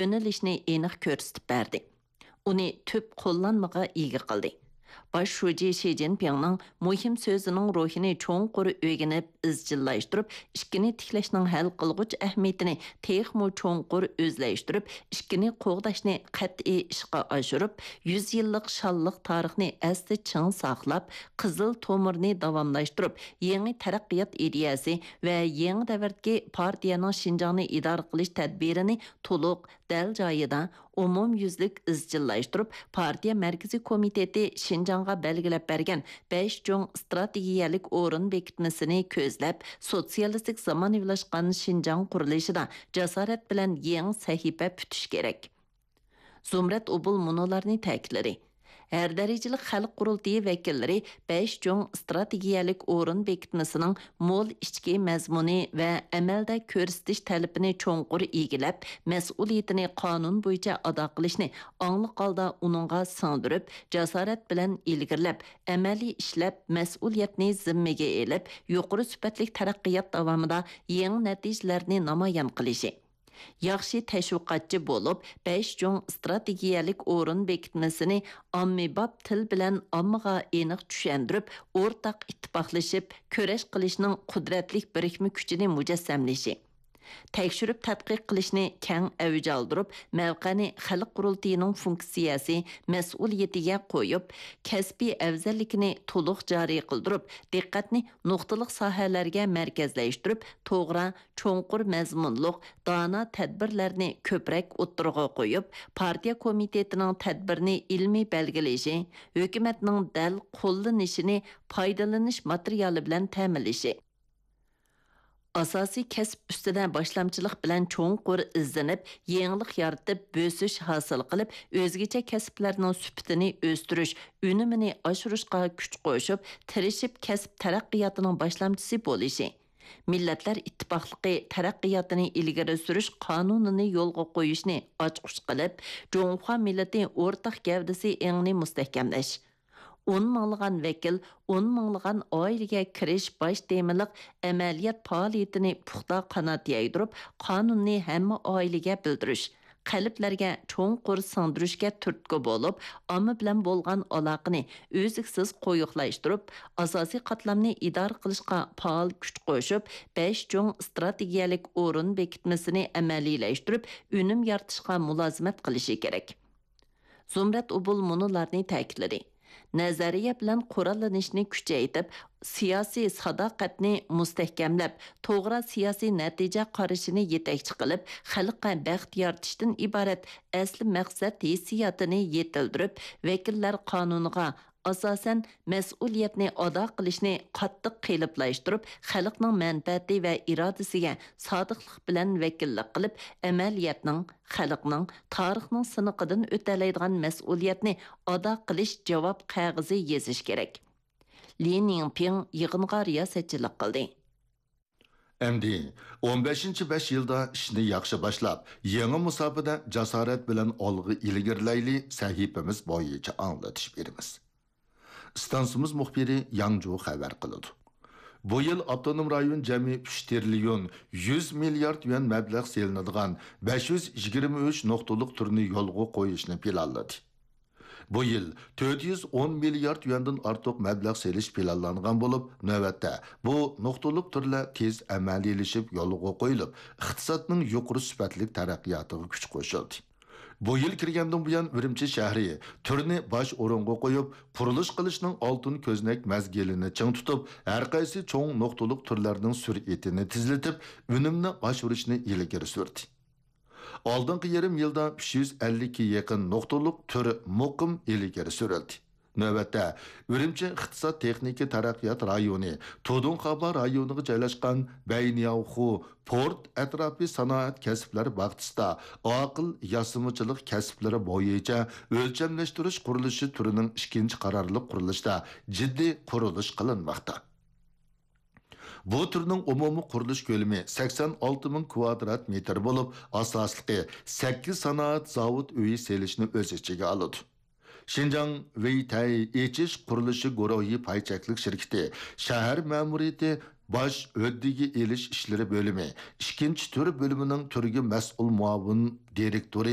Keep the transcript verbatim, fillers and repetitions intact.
يۆنىلىشنى ئېنىق كۆرسىتىپ بەردى. ئۇنى تۈپ قوللانمىغا ئىگە قىلدى. باش شۇجى شى جىنپىڭنىڭ مۇھىم سۆزىنىڭ روھىنى چوڭقۇر ئۆگىنىپ ئىزچىللاشتۇرۇپ، ئىككىنى تىكلەشنىڭ ھەل قىلغۇچ ئەھمىيىتىنى تېخىمۇ چوڭقۇر ئۆزلەشتۈرۈپ، ئىككىنى قوغداشنى قەتئىي ئىشقا ئاشۇرۇپ، يۈز يىللىق شانلىق تارىخنى ئەستە چىڭ ساقلاپ، قىزىل تومۇرنى داۋاملاشتۇرۇپ، يېڭى تەرەققىيات ئىدىيەسى ۋە يېڭى دەۋردىكى پارتىيەنىڭ شىنجاڭنى ئىدارە قىلىش تەدبىرىنى تولۇق، دەل جايىدا، ئومۇميۈزلۈك ئىزچىللاشتۇرۇپ، پارتىيە مەركىزىي كومىتېتى شىنجاڭغا بەلگىلەپ بەرگەن بەش چوڭ ئىستراتېگىيەلىك ئورۇن بېكىتمىسىنى كۆزلەپ، سوتسىيالىستىك زامانىۋىلاشقان شىنجاڭ قۇرۇلۇشىدا جاسارەت بىلەن يېڭى سەھىپە پۈتۈش كېرەك. زۇمرەت ئوبۇل مۇنۇلارنى تەكىتلىدى. ھەر دەرىجىلىك خەلق قۇرۇلتىيى ۋەكىللىرى بەش چوڭ ئىستراتېگىيەلىك ئورۇن بېكىتمىسىنىڭ مول ئىچكى مەزمۇنى ۋە ئەمەلدە كۆرسىتىش تەلىپىنى چوڭقۇر ئىگىلەپ، مەسئۇلىيىتىنى قانۇن بويىچە ئادا قىلىشنى ئاڭلىق ھالدا ئۇنىڭغا سىڭدۈرۈپ، جاسارەت بىلەن ئىلگىرىلەپ، ئەمەلىي ئىشلەپ، مەسئۇلىيەتنى زىممىگە ئېلىپ، يۇقىرى سۈپەتلىك تەرەققىيات داۋامىدا يېڭى نەتىجىلەرنى نامايان قىلىشى. ياخشى تەشۋىقاتچى بولۇپ، بەش چوڭ ئىستراتېگىيەلىك ئورۇن بېكىتمىسىنى ئاممىباب تىل بىلەن ئاممىغا ئېنىق چۈشەندۈرۈپ، ئورتاق ئىتتىپاقلىشىپ كۈرەش قىلىشنىڭ قۇدرەتلىك بىرىكمە كۈچىنى مۇجەسسەملىشى. تەكشۈرۈپ تەتقىق قىلىشنى كەڭ ئەۋج ئالدۇرۇپ، مەۋقەنى خەلق قۇرۇلتىيىنىڭ فۇنكسىيەسى، مەسئۇلىيىتىگە قويۇپ، كەسپىي ئەۋزەللىكىنى تولۇق جارى قىلدۇرۇپ، دىققەتنى نۇقتىلىق ساھەلەرگە مەركەزلەشتۈرۈپ، توغرا، چوڭقۇر مەزمۇنلۇق، دانا تەدبىرلەرنى كۆپرەك ئوتتۇرىغا قويۇپ، پارتىيە كومىتېتىنىڭ تەدبىرنى ئىلمىي بەلگىلىشى، ھۆكۈمەتنىڭ دەل قوللىنىشىنى پايدىلىنىش ماتېرىيالى بىلەن تەمىنلىشى. ئاساسىي كەسىپ ئۈستىدە باشلامچىلىق بىلەن چوڭقۇر ئىزدىنىپ، يېڭىلىق يارىتىپ، بۆسۈش ھاسىل قىلىپ، ئۆزگىچە كەسىپلەرنىڭ سۈپىتىنى ئۆستۈرۈش، ئۈنۈمىنى ئاشۇرۇشقا كۈچ قوشۇپ، تىرىشىپ كەسىپ تەرەققىياتىنىڭ باشلامچىسى بولۇشى. مىللەتلەر ئىتتىپاقلىقى تەرەققىياتىنى ئىلگىرى سۈرۈش قانۇنىنى يولغا قويۇشنى ئاچقۇچ قىلىپ، جۇڭخۇا مىللىتى ئورتاق گەۋدىسى ئېڭىنى مۇستەھكەملەش. ئون مىڭلىغان ۋەكىل، ئون مىڭلىغان ئائىلىگە كىرىش باش تېمىلىق ئەمەلىيەت پائالىيىتىنى پۇختا قانات يايدۇرۇپ، قانۇننى ھەممە ئائىلىگە بىلدۈرۈش، قەلبلەرگە چوڭقۇر سىڭدۈرۈشكە تۈرتكە بولۇپ، ئامما بىلەن بولغان ئالاقىنى ئۈزلۈكسىز قويۇقلاشتۇرۇپ، ئاساسىي قاتلامنى ئىدارە قىلىشقا پائال كۈچ قوشۇپ، بەش چوڭ ئىستراتېگىيەلىك ئورۇن بېكىتمىسىنى ئەمەلىيلەشتۈرۈپ، ئۈنۈم يارىتىشقا مۇلازىمەت قىلىشى كېرەك. زۇمرەت ئوبۇل مۇنۇلارنى تەكىتلىدى. نەزەرىيە بىلەن قوراللىنىشنى كۈچەيتىپ، سىياسىي ساداقەتنى مۇستەھكەملەپ، توغرا سىياسىي نەتىجە قارىشىنى يېتەكچى قىلىپ، خەلققە بەخت يارىتىشتىن ئىبارەت ئەسلى مەقسەت ھېسسىياتىنى يېتىلدۈرۈپ، ۋەكىللەر قانۇنىغا ئاساسەن مەسئۇلىيەتنى ئادا قىلىشنى قاتتىق قېلىپلاشتۇرۇپ، خەلقنىڭ مەنپەئەتى ۋە ئىرادىسىگە سادىقلىق بىلەن ۋەكىللىك قىلىپ، ئەمەلىيەتنىڭ، خەلقنىڭ، تارىخنىڭ سىنىقىدىن ئۆتەلەيدىغان مەسئۇلىيەتنى ئادا قىلىش جاۋاب قەغىزى يېزىش كېرەك. لى نىڭپىڭ يىغىنغا رىياسەتچىلىك قىلدى. ئەمدى ئون بەشىنچى بەش يىلدا ئىشنى ياخشى باشلاپ، يېڭى مۇساپىدە جاسارەت بىلەن ئالغا ئىلگىرىلەيلى سەھىپىمىز بويىچە ئاڭلىتىش بېرىمىز. ئىستانسىمىز مۇخبىرى ياڭجۇ خەۋەر قىلىدۇ. بۇ يىل ئاپتونوم رايون جەمئىي ئۈچ تىرىليون يۈز مىليارد يۈەن مەبلەغ سېلىنىدىغان بەش يۈز يىگىرمە ئۈچ نۇقتىلىق تۈرنى يولغا قويۇشنى پىلانلىدى. بۇ يىل تۆت يۈز ئون مىليارد يۈەندىن ئارتۇق مەبلەغ سېلىش پىلانلانغان بولۇپ، نۆۋەتتە بۇ نۇقتىلىق تۈرلەر تېز ئەمەلىيلىشىپ يولغا قويۇلۇپ، ئىقتىسادنىڭ يۇقىرى سۈپەتلىك تەرەققىياتىغا كۈچ قوشۇلدى. بۇ يىل كىرگەندىن بۇيان، ئۈرۈمچى شەھىرى تۈرنى باش ئورۇنغا قويۇپ، قۇرۇلۇش قىلىشنىڭ ئالتۇن كۆزنەك مەزگىلىنى چىڭ تۇتۇپ، ھەر قايسى چوڭ نۇقتىلىق تۈرلەرنىڭ سۈرئىتىنى تېزلىتىپ، ئۈنۈمنى ئاشۇرۇشنى ئىلگىرى سۈردى. ئالدىنقى يېرىم يىلدا ئۈچ يۈز ئەللىككە يېقىن نۇقتىلىق تۈر مۇقىم ئىلگىرى سۈرۈلدى. نۆۋەتتە، ئۈرۈمچى ئىقتىساد تېخنىكا تەرەققىيات رايونى تۇدۇڭخابا رايونىغا جايلاشقان بەينياۋخۇ پورت ئەتراپى سانائەت كەسىپلەر باغچىسىدا ئاقىل ياسىمىچىلىق كەسىپلىرى بويىچە ئۆلچەملەشتۈرۈش قۇرۇلۇشى تۈرىنىڭ ئىككىنچى قارارلىق قۇرۇلۇشىدا جىددىي قۇرۇلۇش قىلىنماقتا. بۇ تۈرنىڭ ئومۇمىي قۇرۇلۇش كۆلىمى سەكسەن ئالتە مىڭ كۋادرات مېتىر بولۇپ، ئاساسلىقى سەككىز سانائەت زاۋۇت ئۆيى سېلىشنى ئۆز ئىچىگە ئالىدۇ. شىنجاڭ ۋېيتەي ئېچىش قۇرۇلۇشى گۇرۇھى پاي چەكلىك شىركىتى شەھەر مەمۇرىيىتى باش ھۆددىگە ئېلىش ئىشلىرى بۆلۈمى ئىككىنچى تۈر بۆلۈمىنىڭ تۈرگە مەسئۇل مۇئاۋىن دىرېكتورى